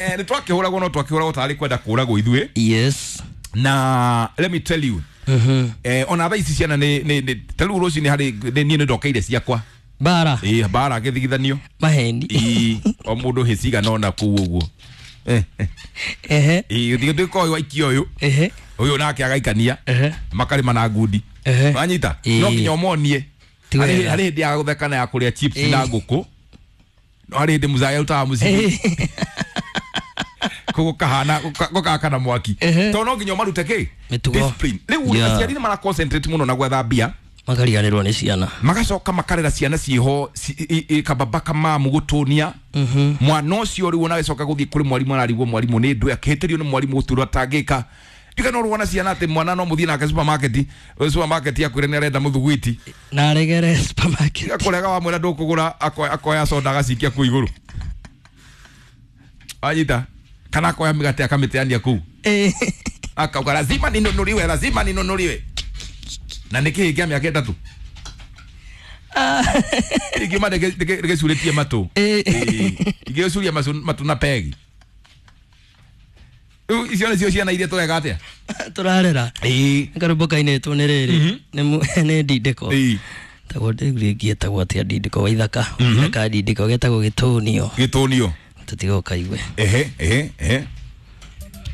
Nĩ twakĩhũragwo, no twakĩhũragwo tarĩ kwenda kũragwo ithuĩ. Na let me tell you, ona thaa ici ciana nĩ ta rĩu rũcinĩ harĩ niĩ nĩ ndokeire ciakwa. Bara. Ĩ, mbara gĩthigithanio. Maheni. Ĩ, o mũndũ hĩ cigana ona kũu ũguo. Ĩ, ũthiĩ ũyũ aikia ũyũ, ũyũ nake agaikania, makarĩma na ngundi. Wanyita? No nginya ũmonie. Ti harĩ wega. Harĩ hĩndĩ ya gũtheka na ya kũrĩa chips na ngũkũ, no harĩ hĩndĩ mũzaya arutaga mũcibi gũkahana gũkakana mwaki, tondũ no nginya ũmarute kĩ? Mĩtugo. Discipline. Rĩu aciari nĩ mara concentrate mũno na gwetha mbia, makariganĩrwo nĩ ciana. Magacoka makarera ciana ciĩho kababa kamamu gũtũnia mwana ũcio. Rĩu ona agĩcoka gũthiĩ kũrĩ mwarimũ, ararigwo mwarimũ nĩ ndũ akĩhĩtĩrio nĩ mwarimũ gũturwo atangĩka. Ndiga no rwona ciana atĩ mwana no mũthiĩ nake supermarket, supermarket akwĩre nĩ arenda mũthugwiti. Na aregere supermarket. Akũrega, wamwĩra ndũkũgũra, akoya soda agacikia kũu igũrũ, wanyita? Kana akoya mĩgate akamĩteania kũu, akauga, "Lazima ninunuliwe, lazima ninunuliwe." Na nĩ kĩhĩ kĩa mĩaka 3 ingiuma ndĩgĩcurĩtie matũ. Ingĩgĩcuria matũ na pegi. Rĩu icio nĩcio ciana iria tũreka atĩa? Tũrarera. Karũmbo kainĩtwo nĩ rĩrĩ, nĩ ndindĩko. Tagwo rĩngĩ etagwo atĩa? Ndindĩko waithaka, waithaka ndindĩko, getagwo gĩtũnio. Gĩtũnio. Tũtiga ũkaigue. Ehe ehe ehe.